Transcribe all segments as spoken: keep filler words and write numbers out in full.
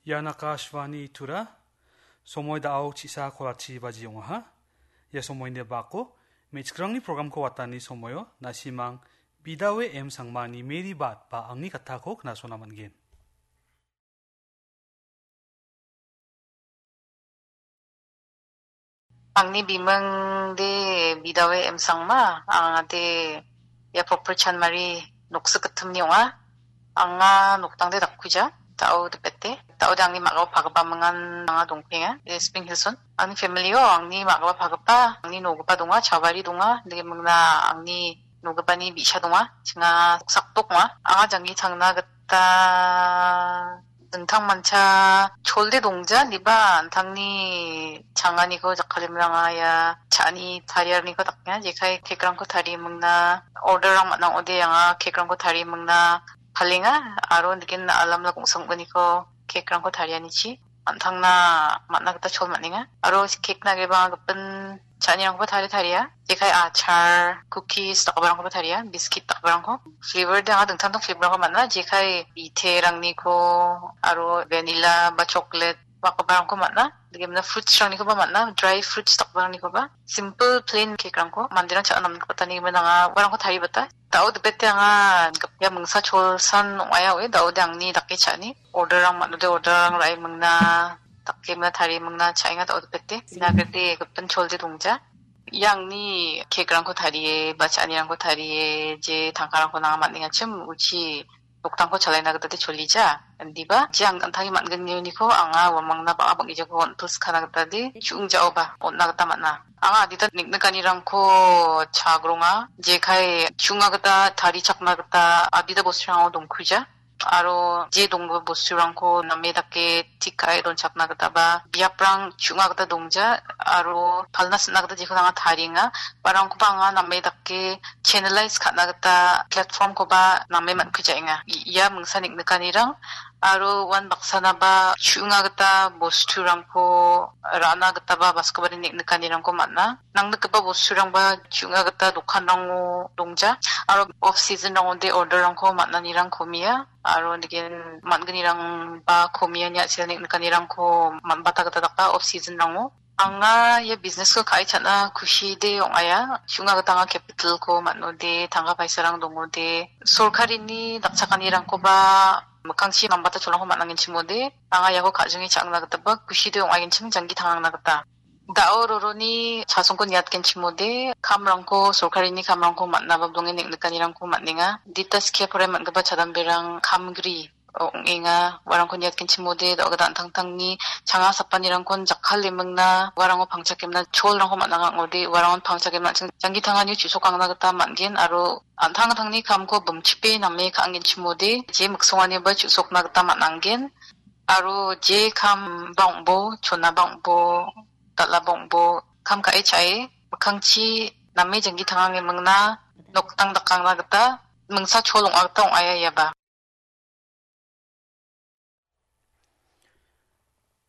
Ian Akashvani Tura, somoi da·o chisa kolachi baji ong·aha. Ia somoini bako, me·chikrangni programko watani somoio, nasimang Bidawe M Sangmani Mary Bat ba angni katako knasona man·gen. Angni biming de Bidawe M Sangma, anga de ia proper Chanmari noksik gittimni ong·a. Anga noktang de dakkuja, da·o dipete. Da·o de angni ma·gao pagipa mingan anga dongpenga, de Spring Hills-on. Angni family-o angni ma·gao pagipa, angni nogipa donga, chavari donga, de mingna angni nogipani bi·sa donga, chinga noksakdok ong·a. Anga janggi tangna gita dingtangmancha cholde dongja, niba an·tangni changaniko jakkalemranga ia cha·ani tariarniko dakenga, jekai cake-rangko tarie mingna, order-rang man·a ong·ode anga cake-rangko tarie mingna palenga, aro nigen alamla gongsa ong·gniko cake-rangko tarianichi an·tangna man·a gita chol man·enga. Aro cake-na agreba anga gipin cha·anirangkoba tarie taria. Jekai achar, cookies dakgiparangkoba taria, biscuit dakgiparangko. Flavor de anga dingtang dingtang flavor-rangko man·a, jekai biterangni ko, aro vanilla ba chocolate dakgiparangko man·a. Degimna fruits-rangnikoba man·a, dry fruits dakgiparangkoba. Simple plain cake-rangko manderang cha·na namgipatani gimin anga uarangko taribata. Da·o dipete anga gipia mingsa cholsan ong·aia oe, da·ode angni dake cha·ani. Order-rang man·ode order-rang ra·e mingna, dake mingna tarie mingna cha·enga da·o dipete. Ina gede gipin cholde dongja. Ia angni cake-rangko tarie, ba cha·anirangko tarie, je tangkarangko nanga man·engachim uchi noktangko chalaina gita de cholija. Indiba, je ang an·tangni man·gnioniko anga uamangna bang·a bang·gijako on·tosikkana gita de, chu·ingjaoba on·na gita man·a. Anga adita niknikanirangko chagronga, jekai chu·na gita tarichakna gita adita bosturango dongkuja. Aro je donggipa bosturangko name dake tik ka·e donchakna gita ba biaprang chu·na gita dongja, aro palna sina gita jekon anga tarienga. Barangkoba anga name dake channelize ka·na gita platform-koba name man·kujaenga. I-, ia mingsa niknikanirang aro uan baksanaba chu·na gita bosturangko ra·na gitaba baskobari niknikanirangko man·a. Nangnikgipa bosturangba chu·na gita dokanrango dongja, aro off season-rangode order-rangko man·anirang komia, aro nigen man·gnirangba komia ine a·sel niknikanirangko man·bata gita daka off season-rango. Anga ia business-ko ka·e cha·na kusi de ong·aia. Chu·na gita anga capital-ko man·ode, tangka paisarang dongode, sorkarini dakchakanirangkoba mikkangchi nambata cholrangko man·angenchimode, anga iako ka·jinge cha·angna gitaba kusi de ong·agenchim janggi tangangna gita. Da·o roroni chasongko niatgenchimode, kamrangko, sorkarini kamrangko man·naba donge niknikanirangko man·enga. Dita skie porai man·gipa chadamberang kamgri ong·enga. Uarangko niatgenchimode, da·o gita an·tangtangni changa sapanirangkon jakkalemingna, uarango pangchakemna cholrangko man·a ong·ode, uarangon pangchakemna an·ching janggi tangani chu·sokangna gita man·gen, aro an·tangtangni kamko bimchipe name ka·angenchimode, je miksonganiba chu·sokna gita man·angen. Aro je kam bang·bo, chona bang·bo, dal·a bang·bo, kam ka·e cha·e, mikkangchi name janggi tangangemingna noktang dakangna gita, mingsa chol ong·a gita ong·aia iaba.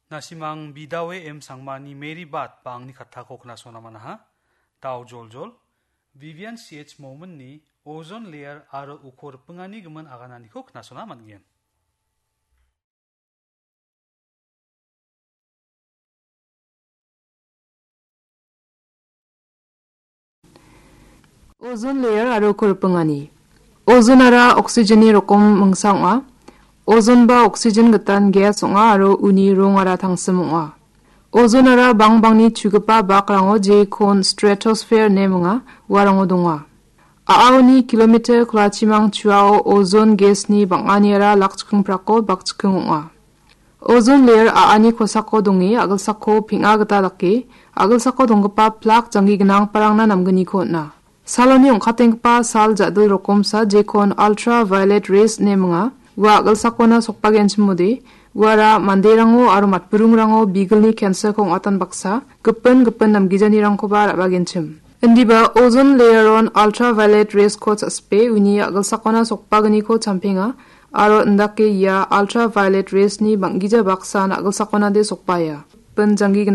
Nasimang Bidawe M Sangmani Mary Bat ba angni katako knasona manaha. Dao joljol, Vivian C H Mominni ozone layer aro uko ripingani gimin agananiko knasona man·gen. Ozone layer aro uko ripingani. Ozonara oxygenni rokom mingsa ong·a. Ozone ba oxygen gitan gas ong·a aro uni rongara tangsim ong·a. Ozonara bangbangni chugipa bakrango jekon stratosphere ine minga, uarango donga. A·aoni kilometer kolachimang chuao ozone gasni bang·aniara lakchikingprako bakchiking ong·a. Ozone layer a·ani kosako donge a·gilsako peng·a gita dake, a·gilsako donggipa plak janggi gnanggiparangna namgniko on·a. Saloni ong·katenggipa sal ja·dil rokomsa jekon ultraviolet rays ine minga. Ua a·gilsakona sokbagenchimode, uara manderango aro matburingrango bigilni cancer-ko ong·atan baksa, gipin gipin namgijanirangkoba ra·bagenchim. Indiba ozone layer-on ultraviolet rays-ko cha·sipe uni a·gilsakona sokbagniko champenga, aro indake ia ultraviolet rays-ni bang·gija baksan a·gilsakonade sokbaia. Gipin janggi